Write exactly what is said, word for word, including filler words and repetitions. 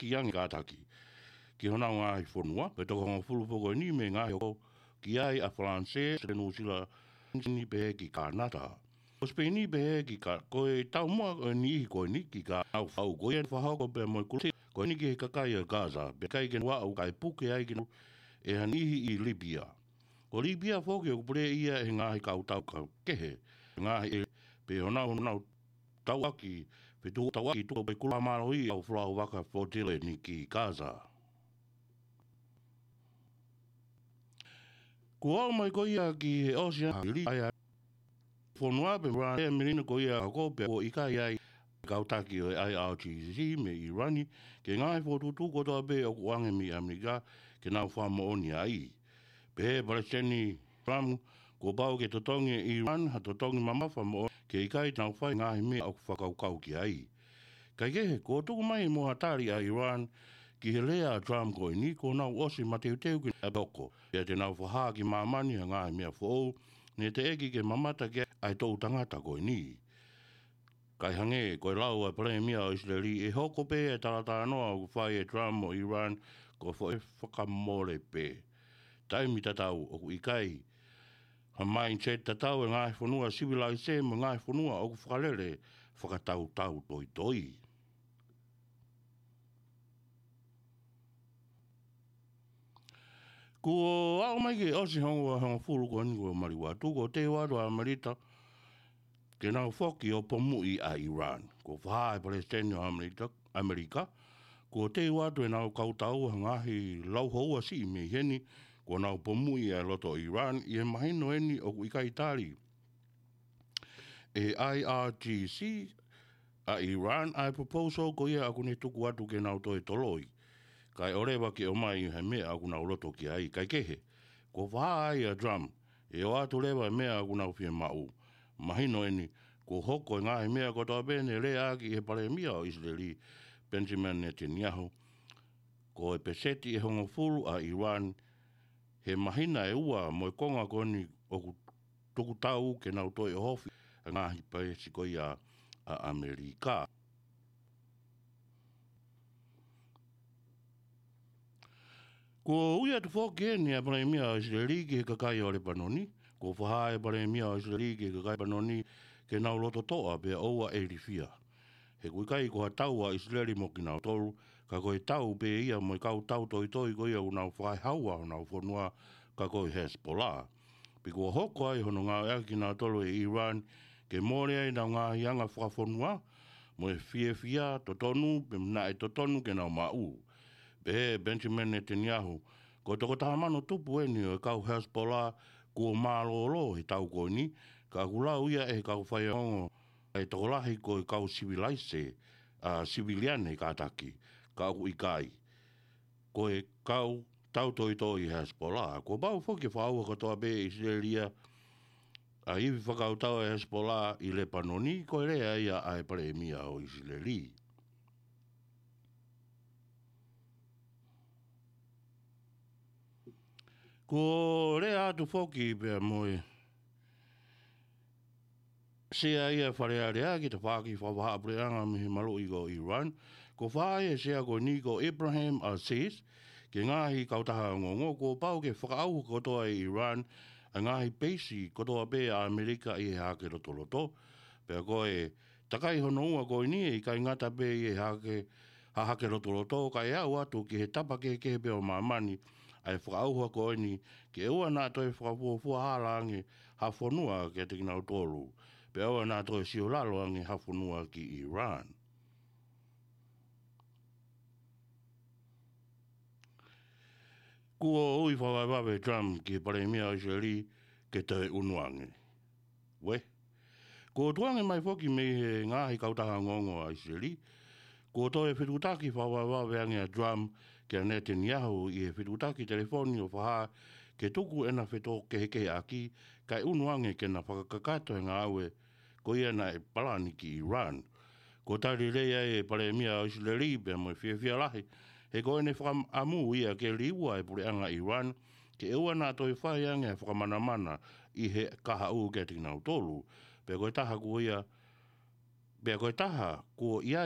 ki ange kātaki ki honau ngaahi fonua, pea toko hongofulu foki eni mei he ngaahi hoko ki ai ʻa Falanisē, Nuʻusila, Sipeini pehē ki Kānata. Ko Sipeini pehē ki Ka-, ko e taumuʻa ʻo e niʻihi ko eni ki Ka-, ʻenau fau ko ia ʻenau fakahoko pea mo e kulusi ko eni ki he kakai ʻo Gaza, pea ʻikai ke nau aʻu kae puke ai kinautolu ʻe ha niʻihi ʻi Lipia. Ko Lipia foki ʻoku pule ia ʻe he ngaahi kautau kehe, ngaahi ʻe, pea honau, honau tauʻaki, fetuʻutaki tuʻu pea kula mālohi ʻa e fuʻu vaka flotilla eni ki Gaza. Kuo aʻu mai ko ia ki he ʻosi ʻa e hili ʻa e fonua pea mo e melino ko ia ʻa ko pea kuo ʻikai ai kau taki ʻo e I R G C mei ʻIrani ki he ngaahi fokotuʻutuʻu kotoa pē ʻoku ʻoange mei ʻAmelika ke nau fakamoʻoni ai. Pehē ʻe Palesiteni Trump, kuo pau ke totongi ʻe ʻIrani ha totongi mamafa moʻoni ke ʻikai te nau fai ngaahi meʻa ʻoku fakakaukau ki ai. Kaikehe, kuo tuku mai mo ha tali ʻa ʻIrani ki he lea ʻa Trump ko eni, kuo nau ʻosi mateuteu ki ai pea ʻoku pau ke nau fakahā ki māmani ha ngaahi meʻa foʻou, ne teʻeki ke mamata ki ai ʻa e toʻu tangata ko eni. Kae hangē ko e lau ʻa e Palēmia ʻo ʻIsileli, ʻe hoko pē ʻa e talatalanoa ʻoku fai ʻe Trump mo ʻIrani ko e foʻi fakamole pē. Taimi tatau ʻoku ʻikai ha mindset tatau ʻa e ngaahi fonua sivilaise mo e ngaahi fonua ʻoku fakalele fakatautau toitoi. Kuo aʻu mai ki he ʻosi hono ua hongofulu ko eni kuo maliu atu, kuo teu atu ʻa ʻAmelika ke nau foki ʻo pomuʻi ʻa ʻIrani. Kuo fakahā ʻe he Palesiteni ʻo ʻAmelika, ʻAmelika, kuo teu atu ʻenau kautau ha ngaahi lauhoua siʻi mei heni, kuo nau pomuʻi ʻa e loto ʻo ʻIrani ʻi he mahino eni ʻoku ʻikai tali ʻe he I R G C ʻa ʻIrani ʻa e proposal ko ia ʻoku ne tuku atu ke nau toe toloi, kae ʻoua leva ke ʻomai ha meʻa ʻoku nau loto ki ai. Kaikehe, kuo fakahā ai ʻa Trump ʻe ʻoatu leva e meʻa ʻoku nau fiemaʻu. Mahino eni, kuo hoko e ngaahi meʻa kotoa pē ne leaʻaki ʻe he Palēmia ʻo ʻIsileli, Benjamin Netanyahu, ko e peseti ʻe hongofulu ʻa ʻIrani he māhina ʻe ua mo e konga ko eni ʻoku tuku tau ke nau toe ʻohofi ʻa e ngaahi peesi ko ia ʻa ʻAmelika. Kuo ui atu foki eni ʻa e Palēmia ʻo ʻIsileli ki he kakai ʻo Lepanoni. Kuo fakahā ʻe he Palēmia ʻo ʻIsileli ki he kakai Lepanoni ke nau loto toʻa pea ʻoua ʻe ilifia. He ʻoku ʻikai ko ha tau ʻa ʻIsileli mo kinautolu, ka ko e tau pē ia mo e kau tau toitoi ko ia ʻoku nau fakahaua honau fonua, ka ko e Hezbollah. Pea kuo hoko ai hono ngāueʻaki kinautolu ʻe ʻIrani ke mole ai ʻenau ngaahi anga fakafonua mo e fiefia totonu pea naʻe totonu ke nau maʻu. Pehē ʻe Benjamin Netanyahu, ko e toko taha mano tupu eni ʻo e kau Hezbollah kuo mālōlō he tau ko eni, ka ʻoku lau ia ʻe he kau faiongoongo ʻa e tokolahi ko e kau sivilaise, ʻa, siviliane kātaki, ka ʻoku ʻikai ko e kau tau toitoi Hezbollah. Kuo pau foki ke fakaʻauha kotoa pē ʻe ʻIsileli ʻa e ivi fakakautau ʻa e Hezbollah ʻi Lepanoni, ko e lea ia ʻa e Palēmia ʻo ʻIsileli. Kuo lea atu foki pea mo e Sea ia Fale Alea ki he tafaʻaki fakavahaʻapuleʻanga mei he maluʻi ko ʻIrani. Kuo fakahā ʻe he Sea ko eni ko Ibrahim Aziz ki he ngaahi kautaha ongoongo, kuo pau ke fakaʻauha kotoa ʻe ʻIrani ʻa e ngaahi peisi kotoa pē ʻa ʻAmelika ʻi he Hahake Lotoloto. Pea ko e takai hono ua ko eni ʻe ʻikai ngata pē ʻi he hahake, hahake lotoloto, kae aʻu atu ki he tapa kehekehe pē ʻo māmani ʻa e fakaʻauha ko eni, ke ʻoua naʻa toe fakafuofua hala ange ha fonua kiate kinautolu, pea ʻoua naʻa toe siolalo ange ha fonua ki ʻIrani. Kuo ui fakavavevave ʻe Trump ki he Palēmia ʻo ʻIsileli ke toe ʻunu ange. Uē. Kuo tukuange mai foki mei he ngaahi kautaha ongoongo ʻa ʻIsileli, kuo toe fetuʻutaki fakavavevave ange ʻa Trump kia Netanyahu ʻi he fetuʻutaki telefoni ʻo fakahā ke tuku ʻena fetōkehekeheʻaki kae ʻunu ange ke na fakakakato e ngāue ko ia naʻe palani ki ʻIrani. Kuo tali lelei ai ʻe he Palēmia ʻo ʻIsileli pea mo e fiefia lahi, he ko ʻene fakaʻamu ia ke liua e puleʻanga ʻIrani, ke ʻoua naʻa toe fai ange ha fakamanamana ʻi he kahaʻu kiate kinautolu. Pea ko e taha kuo ia, pea ko e taha kuo ʻi ai